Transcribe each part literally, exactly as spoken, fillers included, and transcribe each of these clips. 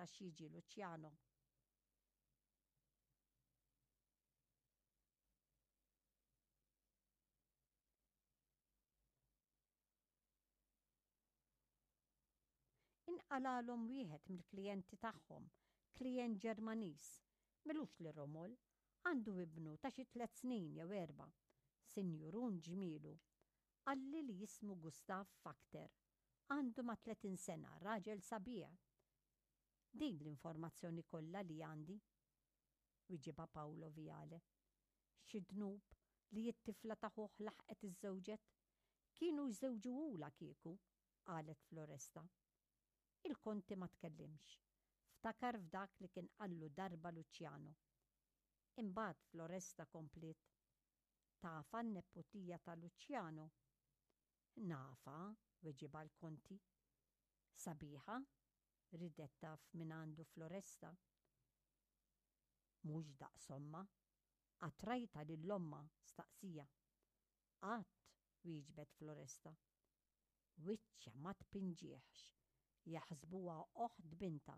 x'jiġi Luciano. Inqalgħalhom wieħed mill-klijenti tagħhom, klijent Ġermaniż, m'ilux li romol, għandu ibnu ta' xi tliet snin jew erba', sinjurun ġmielu. Qalli li jismu Gustav Fakter. Għandu ma' tletin sena, raġel sabiħ. Din l-informazzjoni kollha li għandi, wiġibha Paolo Viale. Xi dnub li t-tifla ta' ħuh laħqet iżżewġet? Kienu jżewġuhulha kieku, qalet Floresta. Il-Konti ma tkellimx. Ftakar f'dak li kien qallu darba Luciano. Imbagħad Floresta kompliet. Tafha n-neputija ta' Luciano? Nafha, weġibha l-Konti. Sabiħa? Ridet taf minn għandu Floresta. Mhux daqs ommha. Qatt rajtha lil ommha? Staqsija. Qatt, wieġbet Floresta. Wiċċha ma tpinġihx, jaħsbuha oħt bintha.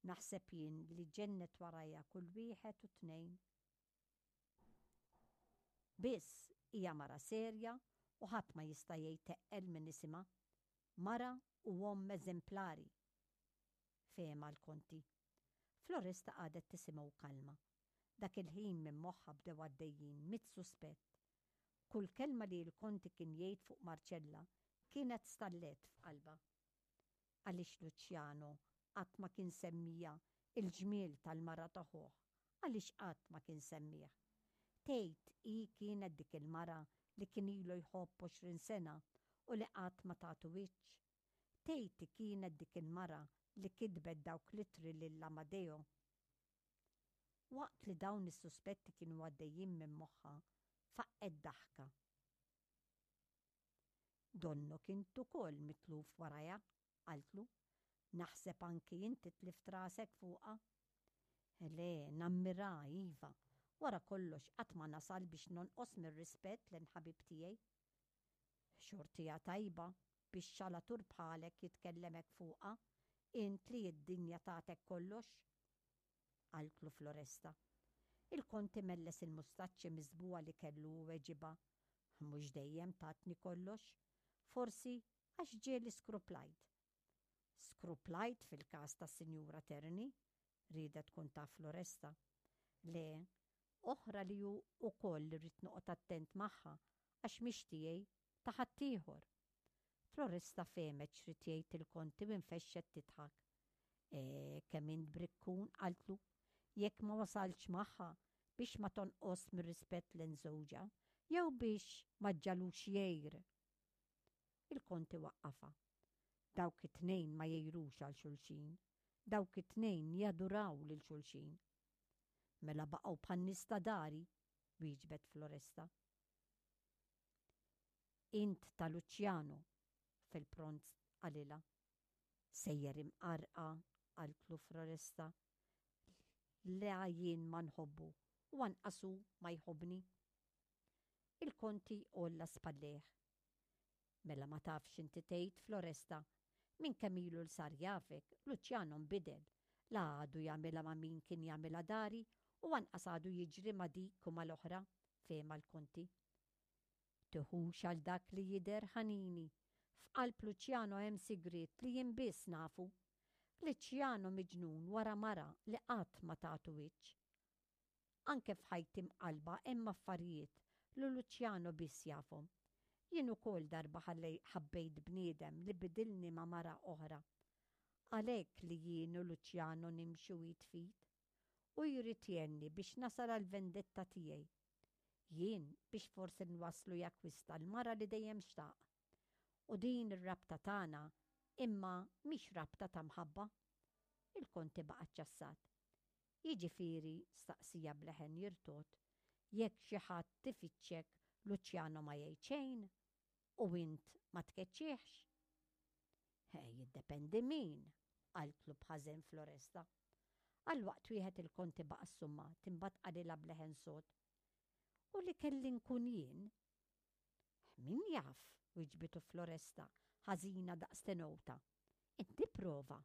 Naħseb jien li ġennet warajha kull wieħed u tnejn. Biss hija mara serja u ħadd ma jista' jgħid teqqel minn isimha. Mara u omm eżemplari. Fehemha l-Konti. Floresta qagħdet tisimgħu kalma. Dak il-ħin minn moħħha bdew għaddejjin mitt suspett. Kull kelma li l-Konti kien jgħid fuq Marcella kienet stallet f'qalbha. Għaliex Luciano qatt ma kien semmija il-ġmiel tal-mara ta' ħuh? Għaliex qatt ma kien semmih? Tgħid hi kienet dik il-mara li kien ilu jħobb għoxrin sena u li qatt ma tagħtu wiċċ? Tgħid hi kienet dik il-mara li kitbet dawk l-ittri lil Amadeo? Waqt li dawn is-suspetti kienu għaddejjin minn moħħha, faqqgħet daħka. Donnok int ukoll mitluf warajha, qaltlu. Naħseb anki inti tlift rasek fuqha. Le, nammiraha, iva. Wara kollox qatt ma nasal biex nonqos mir-rispett lejn ħabib tiegħi. Xortiha tajba biex xalatur bħalek jitkellem hekk fuqha, int li d-dinja tagħtek kollox, qaltlu Floresta. Il-Konti melles il-mustaċċi miżbugħa li kellu u weġibha, Mhux dejjem tatni kollox, forsi għax ġieli skruplajt. Skruplajt fil-każ tas-Sinjura Terni? Riedet tkun taf Floresta. Le, oħra li hu wkoll irrid noqgħod attent magħha għax mhix tiegħi, ta' ħaddieħor. Floresta fehmet x'ried jgħid il-Konti u nfexxet tidħak. Eh, kemm int brikkun, qaltlu, jekk ma wasaltx magħha biex ma tonqos mir-rispett lejn żewġha jew biex ma ġġagħlux jgħir. Il-Konti waqqafha. Dawk it-tnejn ma jgħirux għal xulxin. Dawk it-tnejn jaduraw lil xulxin. Mela baqgħu bħan-nies ta' dari, wieġbet Floresta. Int ta' Luciano, fil-pront qalilha. Sejjer imqarrqa, qaltlu Floresta. La jien ma nħobbu u anqas hu ma jħobbni. Il-Konti għolla spallejh. Mela ma tafx inti tgħid, Floresta. Minn kemm ilu l sar jafek, Luciano nbidel. La għadu jagħmilha ma' min kien jagħmilha dari u anqas għadu jiġri ma' dik u mal-oħra, fehemha l-Konti. Tiħux għal dak li jidher, ħanini. F'qalb Luciano hemm sigriet li jien biss nafu. Luciano miġnun wara mara li qatt ma tagħtu wiċċ. Anke f'ħajti mqallba hemm affarijiet li Luciano biss jafhom. Jien ukoll darba ħabbejt bniedem li bidilni ma' mara oħra. Għalhekk li jien u Luciano nimxu id f'id. U jrid jgħinni biex nasal għall-vendetta tiegħi. Jien biex forsi nwasslu jakkwista l-mara li dejjem xtaq. U din ir-rabta tagħna imma mhix rabta ta' mħabba. Il-Konti baqa' ċċassat. Jiġifieri, staqsija b'leħen jirtogħod, jekk xi ħadd ifittxek Luciano ma jgħid xejn u int ma tkeċċihx? Jiddependi min, qaltlu b'ħażen Floresta. Għal waqt wieħed il-Konti baqa' ssummat, imbagħad qalilha b'leħen sod. U li kelli nkun jien? Min jaf, wiġbitu Floresta, ħażina daqs tenowta. Inti prova.